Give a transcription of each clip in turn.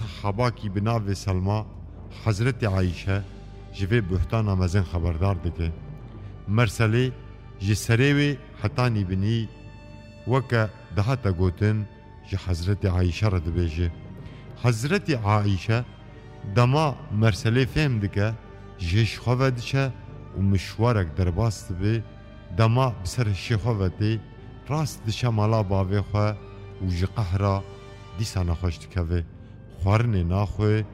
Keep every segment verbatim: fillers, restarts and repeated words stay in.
Sahabakî bi navê Selma Hezretî Ayşe ji vê buhtana mezin xeberdar dike. Merselê ji serê wê hetanî binî weke dihate gotin ji Hezretî Ayşe re dibêje. Hezretî Ayşe dema Merselê fêm dike, ji hêj xwe ve diçe û mişwarek derbas dibe, dema bi ser hişê xwe ve tê, rast diçe mala bavê xwe û ji qehra dîsa nexweş dikeve. Xwarinê naxwe,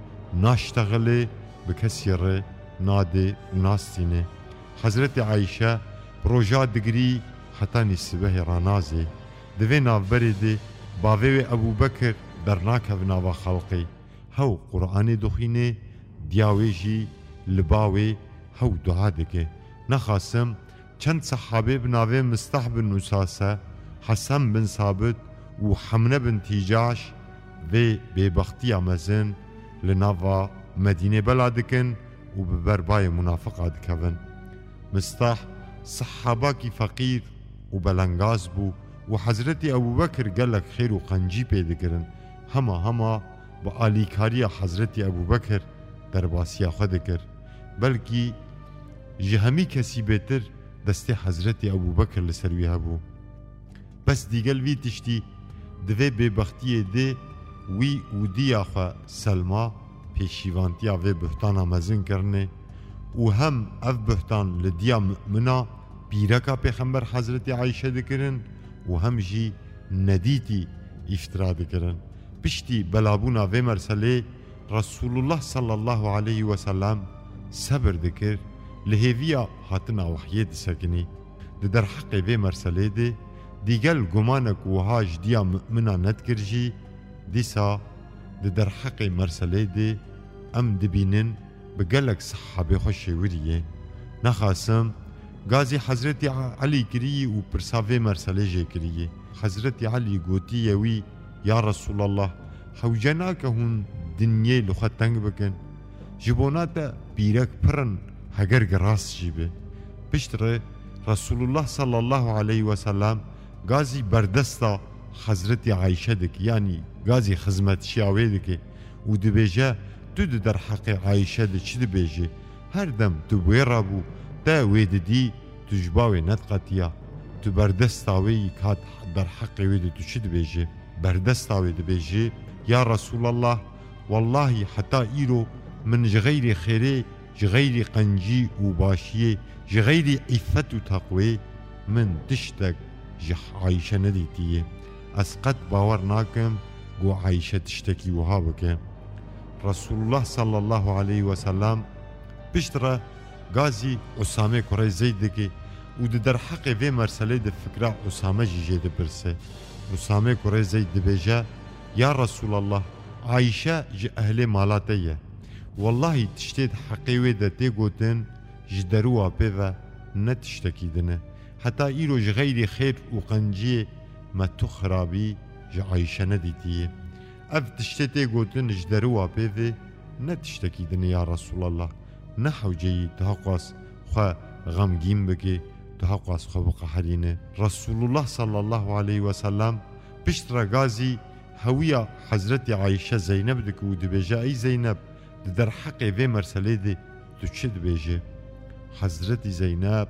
naştexile, bi kesî re nade û nastîne. Hezretî Ayşe bi roja digirî hetanî sibehê ranazê. Di vê navberê de bavê wê Ebû Bekir dernakeve nava xelqê. Hew Quranê dixwîne, diya wê jî li ba wê hew dua dike. Nexasim çend sehabê bi navê Mistah bin Usase, Hesen bin Sabit û Hemne bin Tîcaş vê bêbextiya mezin li nava Medînê bela dikin û bi ber bayê munafiqa dikevin. Mistah sehabakî feqîr û belengaz bû û Hezretî Ebû Bekir gelek xêr û qencî pê dikirin. Hema hema bi alîkariya Hezretî Ebû Bekir derbasiya xwe dikir. Belkî ji hemî kesî bêtir destê Hezretî Ebû Bekir li ser wî hebû. Bes dîgel vî tiştî di vê bêbextiyê de wî û diya xwe Selma pêşîvantiya vê buhtana mezin kirine û hem ev buhtan li diya mumina pîreka Pêxember Hezretî Ayşe dikirin û hem jî nedîtî îftira dikirin. Piştî belabûna vê merselê Resulullah sallallahu aleyhi ve sellem sebir dikir, li hêviya hatina wehyê disekinî. Di derheqê vê merselê de dîgel gumanek wiha ji diya mumina nedikir jî, dîsa di derheqê merselê de em dibînin bi gelek sehabê xwe şêwirî ye. Nexasim gazî Hezretî Elî kirî û pirsa vê merselê jê kirî. Hezretî Elî gotiye wî, Ya Resulallah, hewce nake hûn dinyê li xwe teng bikin. Ji bona te pîrek pir in, heger giras jî be. Piştre Resulullah sallallahu aleyhi ve sellem gazî berdesta Hezretî Ayşe dike, yanî gazî xizmetçiya wê dike û dibêje, Tu di derheqê Ayşe de çi dibêjî? Her dem tu bi wê re bû, te wê didî, tu ji ba wê nediqetiya. Tu berdesta wê yî kat derheqê wê de tu çi dibêjî? Berdesta wê dibêjî, Ya Resulallah, wellahî heta îro min ji xeyrî xêrê, ji xeyrî qencî û başiyê, ji xeyrî îffet û teqwê min tiştek ji Ayşe nedîtiye. Ez qet bawer nakim ku Ayşe tiştekî wiha bike. Resulullah sallallahu aleyhi ve sellem piştre gazî Usame kurê Zeyd dike û di derheqê vê merselê de fikra Usame jî jê dipirse. Usame kurê Zeyd dibêje, Ya Resulallah, Ayşe ji ehlê mala te ye. Wellahî tiştê di heqê wê de tê gotin, ji derûwa pê ve ne tiştekî din e. Heta îro ji xeyrî xêr û qenciyê me tu xirabî ji Ayşe nedîtiye. Ev tiştê tê gotin ji derûwa pê ve ne tiştekî din e ya Resulallah. Ne hewceyî tu hewqas xwe xemgîn bikî, tu hewqas xwe biqeherîne. Resulullah sallallahu aleyhi ve sellem piştre gazî hewiya Hezretî Ayşe Zeyneb dike û dibêje, Ey Zeyneb, di derheqê vê merselê de tu çi dibêjî? Hezretî Zeyneb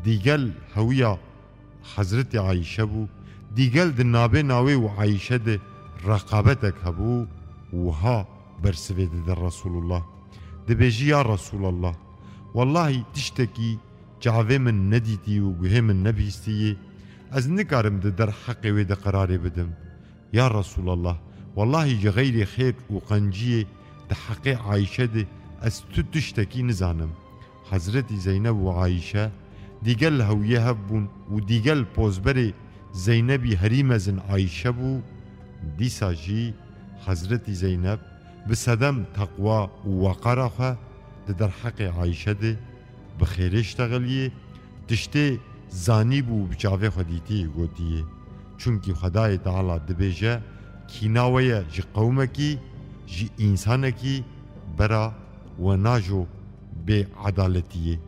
dîgel hewiya Hezretî Ayşe bû, dîgel di nabêna wê û Ayşe de reqabetek hebû, wiha bersivê dide Resulullah. Dibêjî, Ya Resulallah, wellahî tiştekî çavê min nedîtî û guhê min nebihîstiyê, ez nikarim di derheqê wê de qerarê bidim. Ya Resulallah, wellahî ji xeyrê xêr û qenciyê di heqê Ayşe de ez tu tiştekî nizanim. Hezretî Zeyneb û Ayşe dîgel hewiyê hev bûn û dîgel pozberê Zeynebî herî mezin Ayşe bû. Dîsa jî Hezretî Zeyneb bi sedem teqwa û weqara xwe di derheqê Ayşe de bi xêrê ştexiliyê, tiştê zanîbû û bi çavê xwe dîtiyê gotiyê. Çunkî Xwedayê Teala dibêje, Kîna we ye ji qewmekî, ji însanekî bera we najo bê edaletî ye.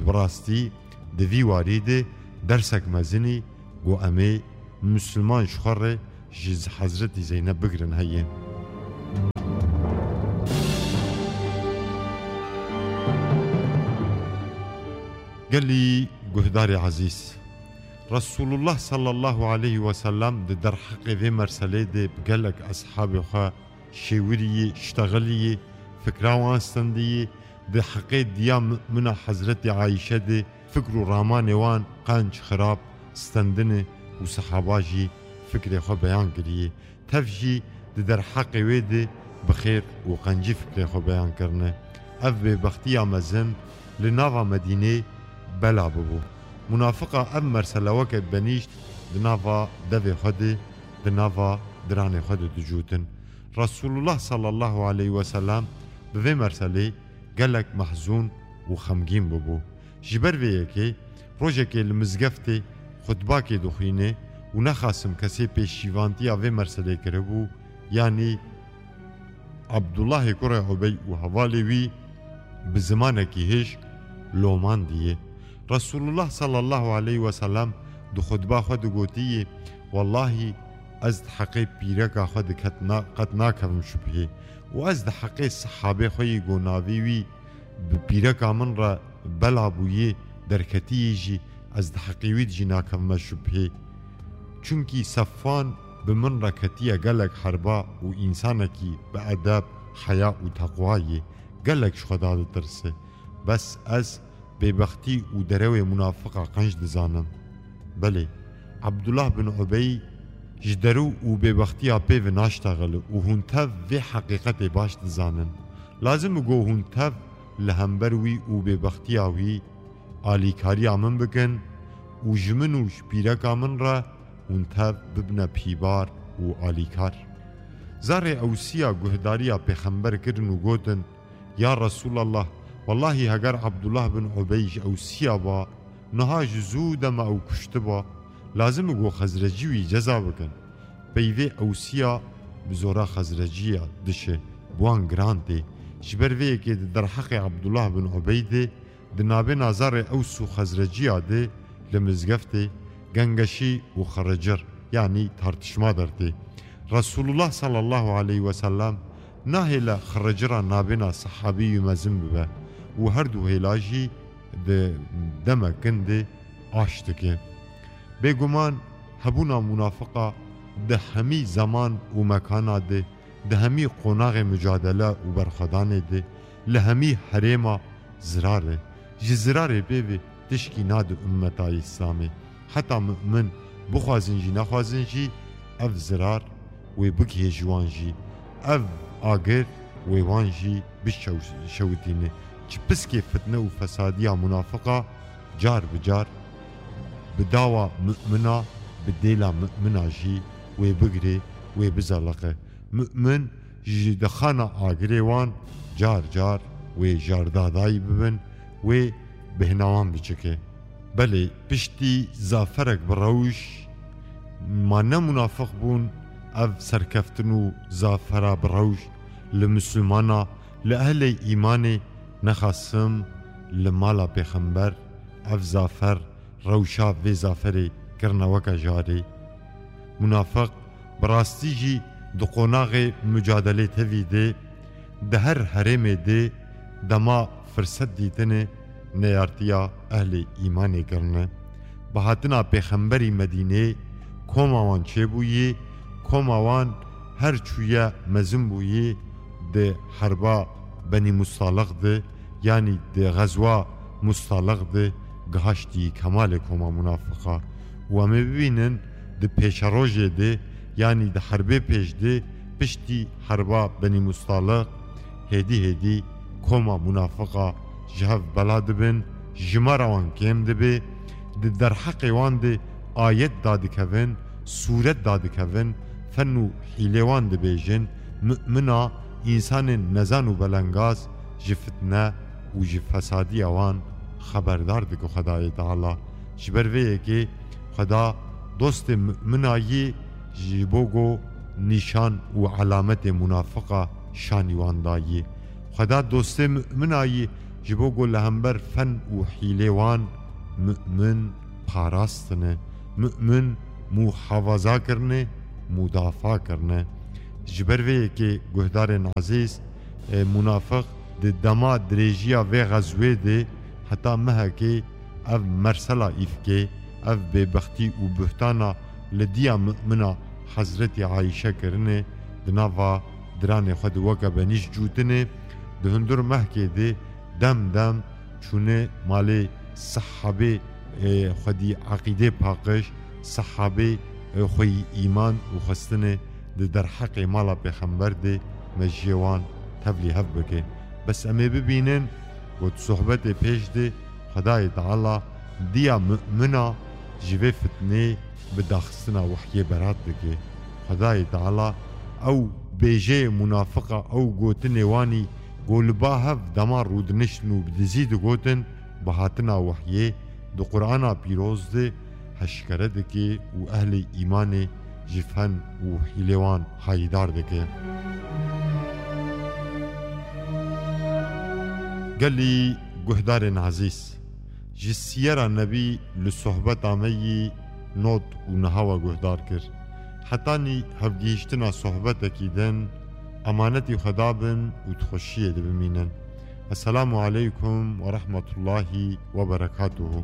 Bi rastî di vî warî de dersek mezin î ku em ê Misilman ji xwe re ji Hezretî Zeyneb bigirin heye. Gelî guhdarê ezîz, Resulullah sallallahu aleyhi ve sellem di derheqê vê merselê de bi gelek eshabê xwe şêwiriyê, ştexiliyê, fikra wan stendiyê, di heqê diya mumina Hezretî Ayşe de fikr û ramanê wan qenc, xirab, stendine û sehaba jî fikrê xwe beyan kiriyê. Tev jî di derheqê wê de bi xêr û qencî fikrê xwe beyan kirine. Ev bêbextiya mezin li nava Medînê bela bibû. Munafiqa ev mersele weke benîşt di nava devê xwe de, di nava diranê xwe de dicûtin. Resulullah sallallahu aleyhi ve sellem bi vê merselê gelek mehzûn û xemgîn bibû. Ji ber vê yekê rojekê li mizgeftê xutbakê dixwîne û nexasim kesê pêşîvantiya vê merselê kiribû, yanî Abdullahê kurê Ubey û hevalê wî bi zimanekî hişk lomandiye. Resulullah sallallahu aleyhi ve sellem di xutba xwe de gotiye, Wellahî ez di heqê pîreka xwe de ket na-, qet nakevim şubhê û ez di heqê sehabê xwe yî ku navê wî bi pîreka min re bela bûyî derketiyî jî ez di heqê wî de jî nakevime şubhê. Çunkî Sefwan bi min re ketiye gelek herba û însanekî bi edeb, heya û teqwa ye. Gelek ji Xweda ditirse. Bes ez bêbextî û derewê munafiqa qenc dizanim. Belê, Abdullah bin Ubey ji derew û bêbextiya pê ve naştexile û hûn tev vê heqîqetê baş dizanin. Lazim e ku hûn tev li hember wî û bêbextiya wî alîkariya min bikin û ji min û ji pîreka min re hûn tev bibine pîbar û alîkar. Zarê Ewsiya guhdariya pêxember kirin û gotin, Ya Resulallah, wellahî heger Abdullah bin Ubey ji Ewsiya ba, niha ji zû dema ew kuştiba, lazim e ku Xezrecî wî ceza bikin. Peyvê Ewsiya bi zora Xezreciya dişe, bi wan giran tê. Ji ber vê yekê di derheqê Abdullah bin Ubey de, di navê nazarê Ews û Xezreciya de li mizgeftê gengeşî û xiricir, yanî tartişma dertê. Resulullah sallallahu aleyhi ve sellem nahêle xiricira nabêna sehabî wî mezin bibe û her du hêla jî di deme kin de aş dike. Bêguman hebûna munafiqa di hemî zeman û mekana de, di hemî qonaxê mucadele û berxwedanê de, li hemî herêma zirar e. Ji zirarê pê ve tişkî nade ummeta Îslamê. Heta mu'min bixwazin jî nexwazin jî, ev zirar wê bigihê ji wan jî. Ev agir wê wan jî bişew-, şewitîne. Çi piskê fitne û fesadiya munafiqa car bi car bi dawa mu'mina, bi dêla mu'mina jî wê bigire, wê bizeliqe. Mu'min ji dixana agirê wan car car wê jardadayî bibin, wê bêhna wan bicike. Belê, piştî zaferek bi rewş, ma ne munafiq bûn, ev serkeftin û zafera bi rewş li misilmana, li ehlê îmanê, nexasim li mala pêxember, ev zafer rewşa vê zaferê kirine weke jarê. Munafiq bi rastî jî di qonaxê mucadelê tevî de, di her herêmê de dema firset dîtine neyartiya ehlê îmanê kirine. Bi hatina pêxemberî Medînê koma wan çêbûyî, koma wan her çûye mezin bûyî di herba Benî Mustaliq de, yanî di xezwa Mustaliq de gihaştî kemalê koma munafiqa. Û em ê bibînin di pêşerojê de, yanî di herbê pêş de, piştî herba Benî Mustaliq, hêdî hêdî koma munafiqa ji hev bela dibin, jimara wan kêm dibe, di derheqê wan de ayet dadikevin, sûret dadikevin, fen û hîlê wan dibêjin, mu'mina, însanên nezan û belengaz ji fitne û ji fesadiya wan xeberdar dike Xwedayê Teala. Ji ber vê yekê Xweda dostê mu'mina yî ji bo ku nîşan û elametê munafiqa şanî wan dayî. Xweda dostê mu'mina yî ji bo ku li hember fen û hîlê wan mu'min parastine, mu'min muhafaza kirine, mudafa kirine. Ji ber vê yekê guhdarên ezîz, e, munafiq di dema dirêjiya vê xezwê de heta mehekê Ev mersela îfkê, ev bêbextî û buhtana li diya mumina Hezretî Ayşe kirine, di nava diranê xwe de weke benîş cûtine, di hundir mehkê de dem dem çûne malê sehabê, e, xwedî eqîdê paqij, sehabê, e, xweyî îman û xwestine di derheqê mala pêxember de me ji wan tevlî hev bike. Bes em ê bibînin, got sohbetê pêş de Xwedayê Teala diya mumina ji vê fitnê bi daxistina wehyê berat dike. Xwedayê Teala ew bêjeyê munafiqa, ew gotinê wanî ku li ba hev dema rûdiniştin û bi dizî digotin, bi hatina wehyê di Qur'ana pîroz de heşkere dike û ehlê îmanê ji fen û hîlê wan hayîdar dike. Gelî guhdarên ezîz, ji siyera Nebî li sohbeta me yî not û niha we guhdar kir. Hetanî hevgihîştina sohbetekî din, emanetî Xweda bin û di xweşiyê de bimînin. Esselamu aleykum ve rahmetullahi ve berekatuhu.